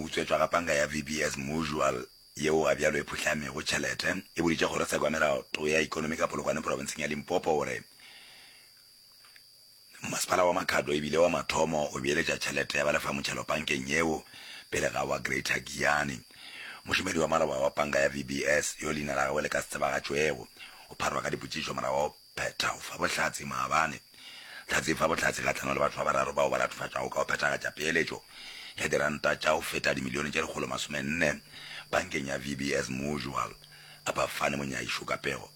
utswetšwa ga panka ya VBS Mutual yeo ga bjalo e phuhlamego tšhelete, e boditše kgorotsheko ya melato ya ekonomi ka Polokwane profenseng ya Limpopo gore Masepala wa Makhado e bile wa mathomo go beeletša tšhelete ya balefamotšhelo pankeng yeo pele ga wa Greater Giyani. Mošomedi wa maloba wa panka ya VBS, yo leina la gagwe le ka se tsebagatšwego, o pharwa ka dipotšišo morago ga go phetha go fa bohlatse maabane. Hlatse e fa bohlatse kgahlanong le batho ba bararo bao ba latofatšwago ka go phethagatša peeletšo ya diranta tša go feta dimilione tše 140 pankeng ya VBS Mutual. Abafane Monyaišo ka pego.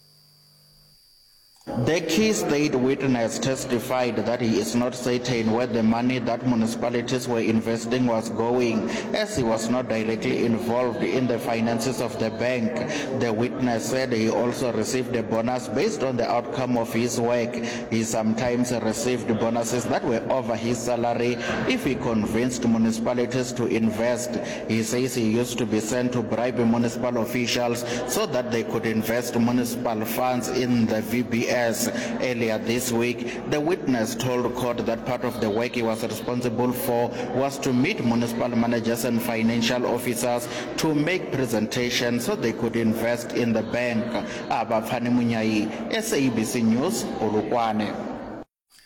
The key state witness testified that he is not certain where the money that municipalities were investing was going, as he was not directly involved in the finances of the bank. The witness said he also received a bonus based on the outcome of his work. He sometimes received bonuses that were over his salary if he convinced municipalities to invest. He says he used to be sent to bribe municipal officials so that they could invest municipal funds in the VBS. Earlier this week, the witness told court that part of the work he was responsible for was to meet municipal managers and financial officers to make presentations so they could invest in the bank. Abafani Munyai, SABC News, Polokwane.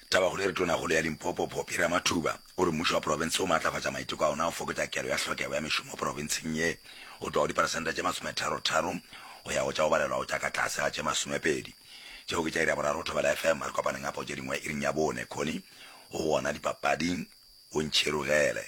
Tabakgolo e re Tonakgolo ya Limpopo, Phophi Ramathuba, o re mmušo wa profense o maatlafatša maiteko a ona a go fokotša kelo ya hlokego ya mešomo profenseng ye go tloga go diperesente tše masometharotharo go ya go tša go balelwago tša ka tlase ga tše masomepedi. Tšeo ke tša iri ya boraro go Thobela FM. Re kopaneng gape go tše dingwe iring ya bone. Connie o gona dipapading, o ntšhirogele.